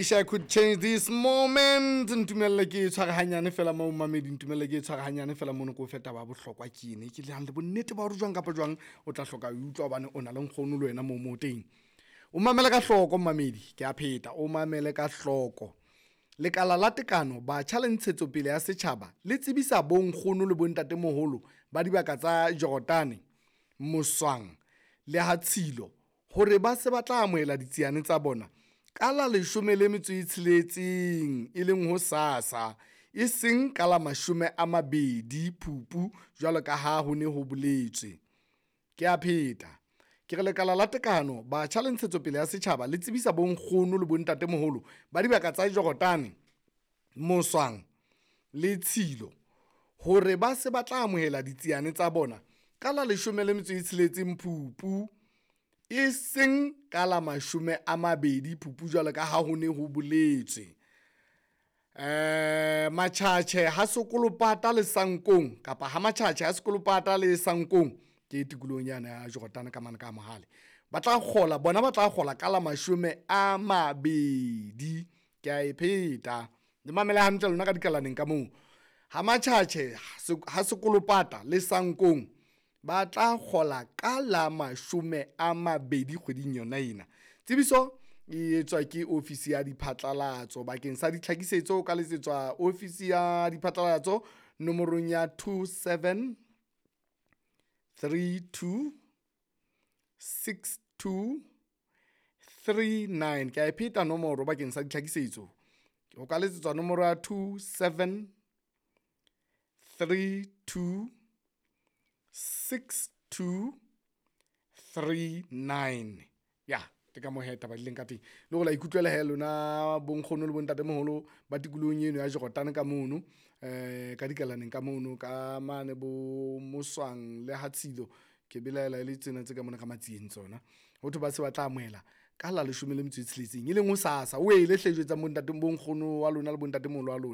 Wish I could change this moment. Ntumelle ke tshware hanyane fela mo mamedi, ntumelle ke tshware hanyane fela mono, ke o fe taba ya bohlokwa ke ene ke nang le bonnete ba hore jwang kapa jwang o tla hloka ho utlwa hobane o na le nkgono le wena moo mo teng. O mamele ka hloko mmamedi, ke a pheta, o mamele ka hloko. Lekala la Tekano, Batjha le Ntshetsopele ya Setjhaba le tsebisa bonkgono le bontatemoholo ba dibaka tsa Jordan, Moswang le Ha Tshilo hore ba se ba tla amohela ditsiane tsa bona ka la 16, e leng hosasa, e seng ka la 20 Phupu jwalo ka ha ho ne ho boletswe. Ke a pheta ke re, Lekala la Tekano, Batjha le Ntshetsopele ya Setjhaba le tsebisa bonkgono le bontatemoholo ba dibaka tsa Jordan, Moswang le Tshilo hore ba se ba tla amohela ditsiane tsa bona ka la 16 Phupu, e seng ka la 20 Phupu jwalo ka ha ho ne ho boletswe. Matjhatjhe ha sekolopata le Sankong kapa ha Matjhatjhe ha sekolopata le Sankong ke tikolohong yane ya Jordan ka mane ka mohale, ba tla kgola bona, ba tla kgola ka la 20. Ke a e pheta, le mamele hantle lona ka dikalaneng ka moo. Ha Matjhatjhe ha sekolopata le Sankong ba tla kgola ka la 20 kgweding yona ena. Tsebiso e etswa ke ofisi ya diphatlalatso. Bakeng sa ditlhakisetso o ka letsetswa ofisi ya diphatlalatso nomorong ya 27 32 62 39. Ke a e pheta nomoro bakeng sa ditlhakisetso, o ka letsetswa nomoro ya 27 32 62 39. Ya ke ka moo he taba di leng ka teng, le hore la ikutlwela he lona bonkgono le bontatemoholo ba tikolohong eno ya Jordan ka mono, ka dikalaneng ka mono ka mane bo Moswang le Ha Tshilo, ke belaela e le tsena tse ka mona ka Matsieng tsona. Ho thwe ba se ba tla amohela ka la 16, e leng hosasa. O ele hle jwetsang bontate, bonkgono wa lona le bontatemoholo wa lona.